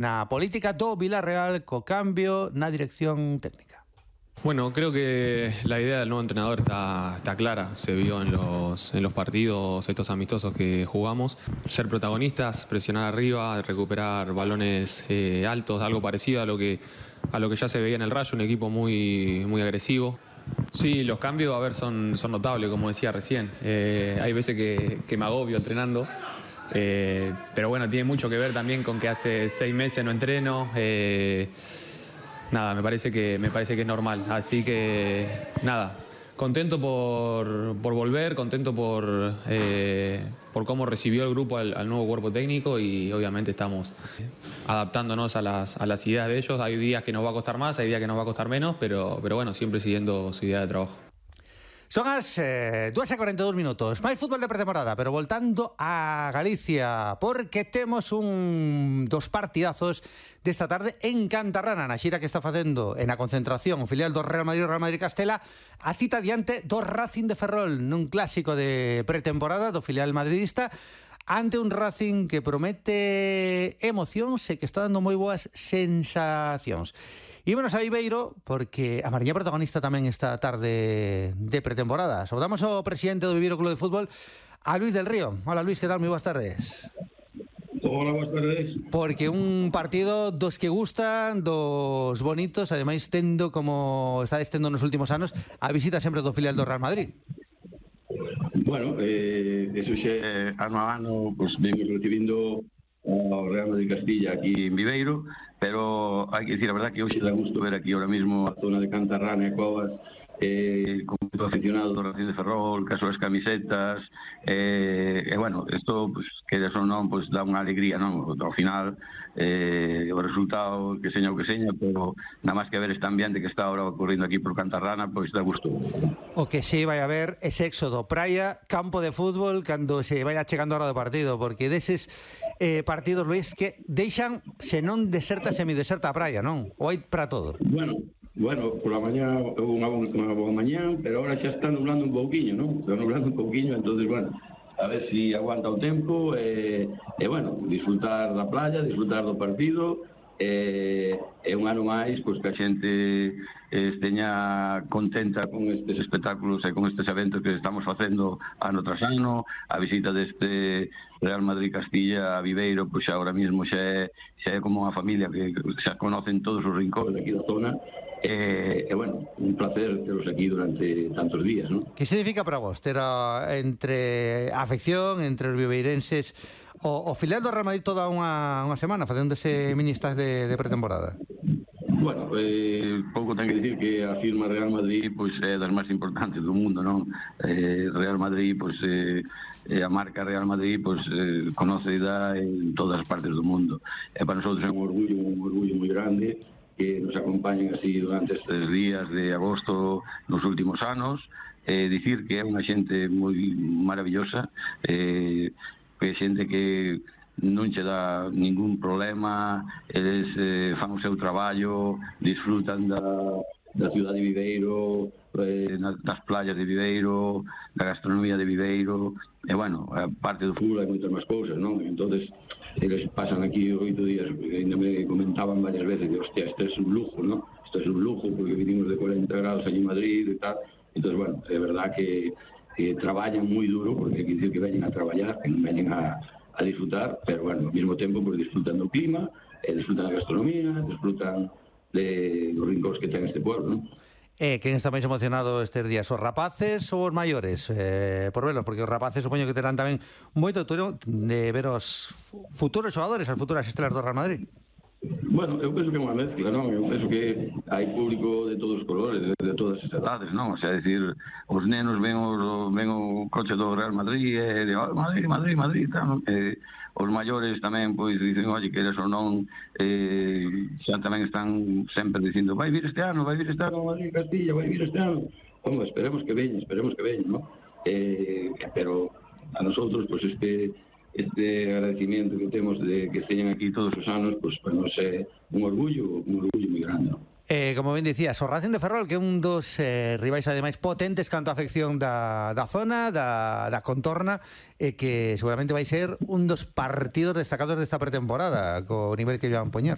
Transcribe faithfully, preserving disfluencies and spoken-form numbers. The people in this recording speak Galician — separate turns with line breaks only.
Na política do Villarreal co cambio na dirección técnica.
Bueno, creo que la idea del nuevo entrenador está, está clara, se vio en los, en los partidos, estos amistosos que jugamos. Ser protagonistas, presionar arriba, recuperar balones eh, altos, algo parecido a lo, que, a lo que ya se veía en el Rayo, un equipo muy, muy agresivo. Sí, los cambios, a ver, son, son notables, como decía recién. Eh, hay veces que, que me agobio entrenando. Eh, pero bueno, tiene mucho que ver también con que hace seis meses no entreno. Eh, nada, me parece que, me parece que es normal. Así que nada, contento por, por volver, contento por, eh, por cómo recibió el grupo al, al nuevo cuerpo técnico y obviamente estamos adaptándonos a las, a las ideas de ellos. Hay días que nos va a costar más, hay días que nos va a costar menos, pero, pero bueno, siempre siguiendo su idea de trabajo.
Son as eh, dúas e cuarenta e dous minutos. Máis fútbol de pretemporada, pero voltando a Galicia, porque temos un dos partidazos desta tarde en Cantarrana, na xira que está facendo en a concentración o filial do Real Madrid, Real Madrid Castela, a cita diante do Racing de Ferrol, nun clásico de pretemporada do filial madridista, ante un Racing que promete emocións e que está dando moi boas sensacións. Ímonos a Viveiro, porque a Mariña protagonista tamén esta tarde de pretemporada. Saudamos ao presidente do Viveiro Club de Fútbol, a Luis del Río. Hola Luis, que tal? Moi boas tardes.
Hola, boas tardes.
Porque un partido dos que gustan, dos bonitos, ademais tendo, como está estendo nos últimos anos, a visita sempre do filial do Real Madrid.
Bueno, eh, eso xe, ano a ano, pues, vimos recibindo ao Real Madrid Castilla aquí en Viveiro, pero hai que dicir a verdad que hoxe dá gusto ver aquí ahora mismo a zona de Cantarrana e Covas, eh, con moito aficionado do Racing de Ferrol, que as súas camisetas, eh, e bueno, isto, pues, que de son non, pues, dá unha alegría, non? Ao final, eh, o resultado que seña o que seña, pero nada máis que ver este ambiente que está ahora ocorrendo aquí por Cantarrana, pois pues, dá gusto.
O que sí vai haber ese éxodo, praia, campo de fútbol, cando se vaya chegando a hora do partido, porque deses eh, partidos, Luis, que deixan, se non deserta, semideserta a praia, non? Ou hai para todo?
Bueno, Bueno, por la mañá unha, unha boa mañá, pero ahora xa está nublando un pouquiño, non? Está nublando un pouquiño, entonces, bueno, a ver si aguanta o tempo e, e bueno, disfrutar da playa, disfrutar do partido e, e un ano máis, pois, que a xente esteña contenta con estes espectáculos e con estes eventos que estamos facendo ano tras ano. A visita deste Real Madrid Castilla a Viveiro, pois agora mesmo xa é, xa é como unha familia que xa conocen todos os rincóns aquí da zona. E, e bueno, un placer teros aquí durante tantos días, ¿no?
Que significa para vos ter a, entre a afección, entre os viveirenses, o, o filial do Real Madrid toda unha, unha semana facendo ese mini stage de, de pretemporada?
Bueno, eh, pouco ten que dicir que a firma Real Madrid pois é das máis importantes do mundo, non? Eh, Real Madrid, pois eh, a marca Real Madrid pois eh, conocida en todas as partes do mundo. E para nosotros é un orgullo, un orgullo moi grande que nos acompañen así durante estes días de agosto nos últimos anos. Eh, dicir que é unha xente moi maravillosa, eh, que é xente que non che dá ningún problema, eles eh, fan o seu traballo, disfrutan da, da ciudad de Viveiro, eh, das playas de Viveiro, da gastronomía de Viveiro, e bueno, a parte do fútbol hai moitas máis cousas, non? Entonces eles pasan aquí oito días, ainda me comentaban varias veces que, hostia, isto é un lujo, ¿no? Isto é un lujo, porque vinimos de cuarenta grados allí en Madrid e tal. Entonces, bueno, é verdad que, que traballan moi duro, porque hai que dicir que veñen a traballar, que non veñen a, a disfrutar, pero, bueno, ao mesmo tempo, pues, disfrutan do clima, eh, disfrutan da gastronomía, disfrutan de dos rincóns que ten este pueblo, ¿no?
Eh, quen está máis emocionado estes días, os rapaces ou os maiores? Eh, por verlos, porque os rapaces supoño que terán tamén moito turno de ver os futuros xogadores, as futuras estrelas do Real Madrid.
Bueno, eu penso que é unha mezcla, non? Eu penso que hai público de todos os colores, de, de todas as edades, non? O sea, decir, os nenos ven o, ven o coche do Real Madrid e de, oh, Madrid, Madrid, Madrid, tal, non? Eh, os maiores tamén, pois, dicen, oye, que eres ou non, eh, xa tamén están sempre dicindo, vai vir este ano, vai vir este ano Madrid Castilla, vai vir este ano. Como, esperemos que veña, esperemos que veña, non? Eh, pero a nosotros, pois, este... este agradecimiento que temos de que esteñan aquí todos os anos, pois, para nos é un orgullo, un orgullo moi grande, non?
Eh, como ben dicías, o Racing de Ferrol, que é un dos eh, rivais ademais potentes canto a afección da, da zona, da, da contorna, e eh, que seguramente vai ser un dos partidos destacados desta pretemporada, co nivel que van poñer.